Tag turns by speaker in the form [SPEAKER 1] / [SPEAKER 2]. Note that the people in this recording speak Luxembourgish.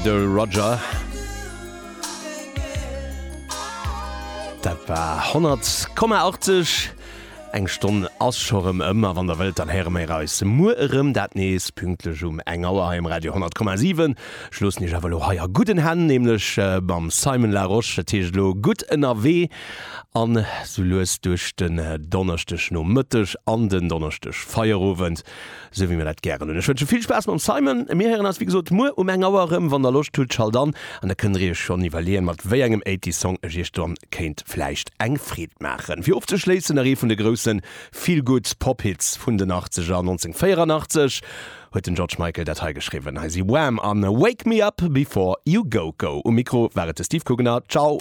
[SPEAKER 1] de Roger. Dat war 100,80. Eng Stonn ass scho rëm ëm a wann der wëllt, dann héiere mir eis muer erëm, dat nees pünktlech um eng Auer hei um Radio 100,7. Ech loossen iech awer elo hei a gudden Hänn, nämlech mam Simon Larosche. Dat heescht elo gutt ënnerwee an sou lues duerch den Donneschdegnomëtteg an den Donneschdegfeierowend. Sou wéi mir dat gären hunn. Ech wënsche vill Spaass mam Simon. Mir héieren eis wéi gesot muer um eng Auer erëm. Wann der Loscht hutt, schalt an an da kënnt der iech schonn iwwerleeën, mat wéi engem Eighties Song ech iech dann kéint vläicht eng Freed maachen. Fir ofzeschléissen nach ee vun de grousse Feel-Good Pop Hits vun den Achtzeger. 1984 huet den George Michael dat hei geschriwwen. Hei si Wham! an Wake Me Up Before You Go Go. Um Mikro war et de Steve Kugener. Ciao!